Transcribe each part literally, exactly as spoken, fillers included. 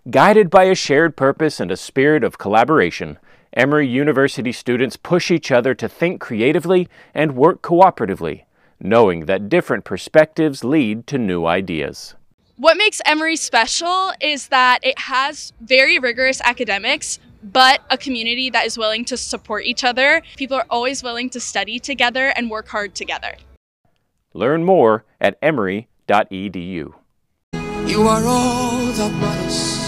Guided by a shared purpose and a spirit of collaboration, Emory University students push each other to think creatively and work cooperatively, knowing that different perspectives lead to new ideas. What makes Emory special is that it has very rigorous academics, but a community that is willing to support each other. People are always willing to study together and work hard together. Learn more at emory dot e d u. You are all that matters.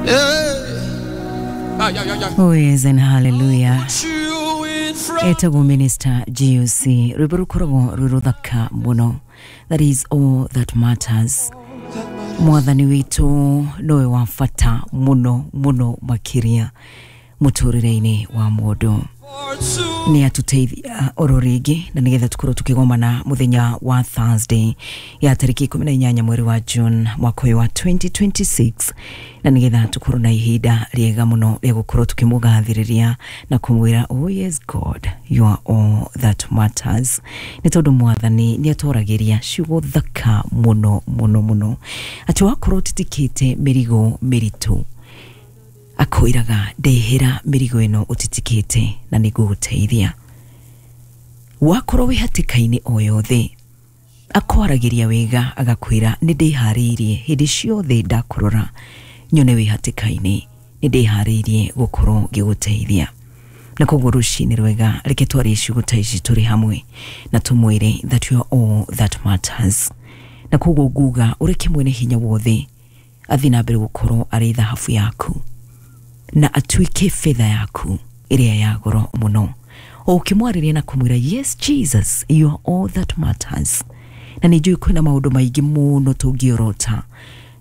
Yeah. Ah, yeah, yeah, yeah. Oh yes, and hallelujah. Put you in front. Etagwo Minister G O C rwimbo rukoragwo rwĩ rũthaka mũno. That is all that matters. Mwathani witũ nowe wa bata mũno mũno makĩria mũtũrĩre-inĩ wa mũndũ. Nĩ atũteithia oro rĩngĩ na nĩgetha tũkorwo tũkĩgomana mũthenya wa Thursday ya tarĩki ikũmi na inyanya mweri wa June mwaka ũyũ wa twenty twenty-six, na nĩgetha tũkorwo na ihinda rĩega mũno rĩa gũkorwo tũkĩmũgathĩrĩria na kũmwĩra oh yes God, you are all that matters. Nĩ tondũ mwathani nĩ atwaragĩria ciugo thaka mũno mũno mũno atĩ wakorwo ũtitikĩte mĩrigo mĩritũ akwĩraga ndehera mĩrigo ĩno ũtitikĩte na nĩngũgũteithia. Wakorwo wĩ hatĩka-inĩ o yothe akwaragĩria wega agakwĩra nĩ ndĩharĩirie hĩndĩ ciothe ndakũrora nyone wĩ hatĩka-inĩ, nĩ ndĩharĩirie gũkorwo ngĩgũteithia. Na koguo rũcinĩ rwega reke twarie ciugo ta ici tũrĩ hamwe na tũmwĩre that you are all that matters. Na koguo nguga ũreke mwene hinya wothe athiĩ na mbere gũkorwo arĩ thahabu yaku na atuĩke fedha yaku ĩrĩa ya goro mũno. O ũkĩmwarĩria na kũmwĩra yes Jesus, you are all that matters. Na nĩ njũĩ kwĩna maũndũ maingĩ mũno tũngĩorota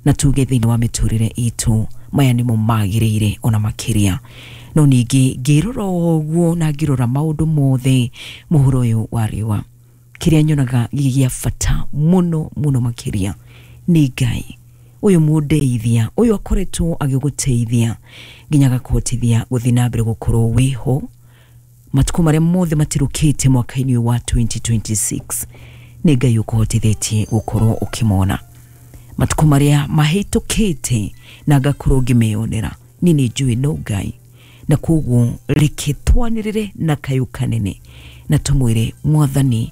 na tuge thĩinĩ wa mĩtũrĩre itũ maya nĩmo magĩrĩire ona makĩria. No ningĩ ngĩrora ũguo na ngĩrora maũndũ mothe mũhuro ũyũ wa riũa, kĩrĩa nyonaga gĩ gĩa bata mũno mũno makĩria nĩ Ngai ũyũ mũndeithia, ũyũ akoretwo agĩgũteithia nginya agakũhotithia gũthiĩ na mbere gũkorwo wĩho matukũ marĩa mothe matirũkĩte mwaka-inĩ ũyũ wa twenty twenty-six. Nĩ Ngai ũkũhotithĩtie gũkorwo ũkĩmona matukũ marĩa mahĩtũkĩte na ngakorwo ngĩmeyonera. Niĩ nĩ njũĩ no Ngai, na koguo reke twanĩrĩre na kayũ kanene na tũmwĩre mwathani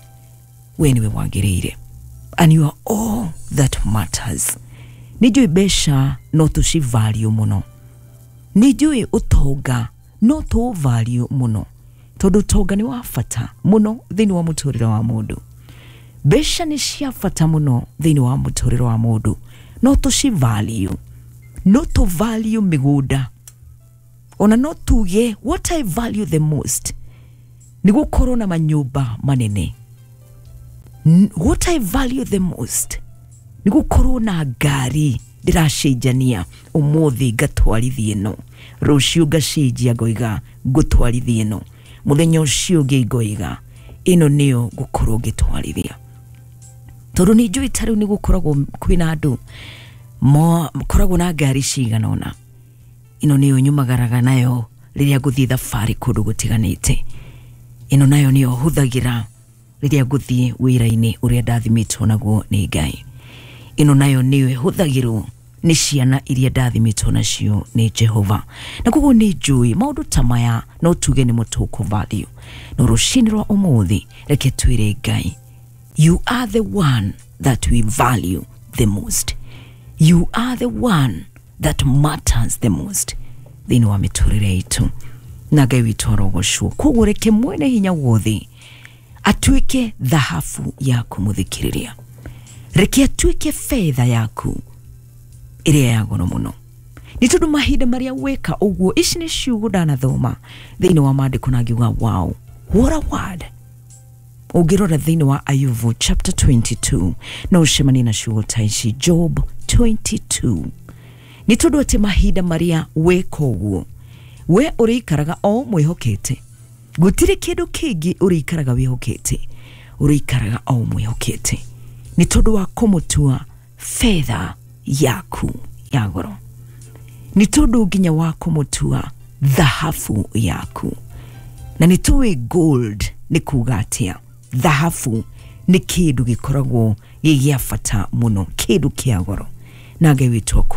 we nĩwe wagĩrĩire, and you are all that matters. Nĩ njũĩ mbeca no tũcivalue mũno, nĩ njũĩ ũtonga no tũũvalue mũno, tondũ ũtonga nĩ wa bata mũno thĩinĩ wa mũtũrĩre wa mũndũ. Mbeca nĩ cia bata mũno thĩinĩ wa mũtũrĩre wa mũndũ, no tũcivalue, no tũvalue mĩgũnda, ona no tuge what I value the most nĩ gũkorwo na manyũmba manene. What I value the most nĩ gũkorwo na ngari ndĩracenjania, ũmũthĩ ngatwarithia ĩno, rũciũ ngacenjia ngoiga ngũtwarithia ĩno, mũthenya ũcio ũngĩ ngoiga ĩno nĩyo ngũkorwo ngĩtwarithia. Tondũ nĩ njũĩ ta rĩu nĩ gũkoragwo kwĩna andũ makoragwo na ngari cigana ũna, ĩno nĩyo nyumagaraga nayo rĩrĩa ngũthiĩ thabarĩ kũndũ gũtiganĩte, ĩno nayo nĩyo hũthagĩra rĩrĩa ngũthiĩ wĩra-inĩ ũrĩa ndathimĩtwo naguo nĩ Ngai, ĩno nayo nĩyo ĩhũthagĩrwo nĩ ciana iria ndathimĩtwo nacio nĩ Jehova. Na koguo nĩ njũĩ maũndũ ta maya no tuge nĩ mũtũkũ value. No rũcinĩ rwa ũmũthĩ reke twĩre Ngai, you are the one that we value the most, you are the one that matters the most thĩinĩ wa mĩtũrĩre itũ, na Ngai witũ arogocwo. Koguo reke mwene hinya wothe atuĩke thahabu yaku mũthikĩrĩria, reke atuĩke fedha yaku ĩrĩa ya goro mũno. Nĩ tondũ mahinda marĩa weka ũguo, ici nĩ ciugo ndanathoma thĩinĩ wa maandĩko na ngiuga wow, what a word. Ũngĩrora thĩinĩ wa Ayubu chapter twenty-two no ũcemanie na ciugo ta ici, Job twenty-two. Nĩ tondũ atĩ mahinda marĩa weka ũguo we ũrĩikaraga o mwĩhokete, gũtirĩ kĩndũ kĩngĩ ũrĩikaraga wĩhokete, ũrĩikaraga o mwĩhokete, nĩ tondũ wa kũmũtua fedha yaku ya goro, nĩ tondũ nginya wa kũmũtua thahabu yaku. Na nĩ tũĩ gold nĩ kuga atĩa, thahabu nĩ kĩndũ gĩkoragwo gĩ gĩa bata mũno, kĩndũ kĩa goro, na Ngai witũ